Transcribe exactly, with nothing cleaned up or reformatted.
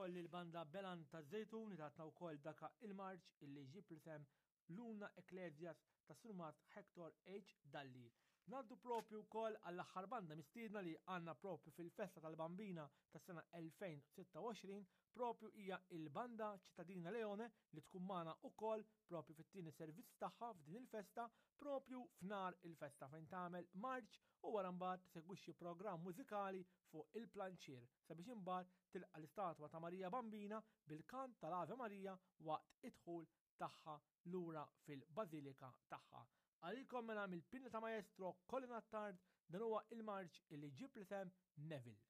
Wkoll il-banda Belan ta' Zejtun li tatna wkoll daka il-marċ illi ġib l-isem Luna Ecclesias ta' Surmat Hector H. Dalli. Naddu propju wkoll għall-aħħar banda mistiedna li għandna propju fil-festa tal-Bambina tas-sena elfejn u sitta u għoxrin, propju hija il-banda Ċittadina Leone li tkun magħna wkoll propju fit-tieni servizz tagħha f'din il-festa, propju f'nar il-festa, fejn tagħmel marċ u wara mbagħad segwixxi programm mużikali fuq il-planċier sabiex imbagħad tilqa' l-istatwa ta' Marija Bambina bil-kant tal-Ave Maria waqt id-dħul tagħha lura fil-Bażilika tagħha. Għalikom mela mill-pinna ta' Maestro Colin Attard, dan huwa il-marċ illi ġib l-isem Neville.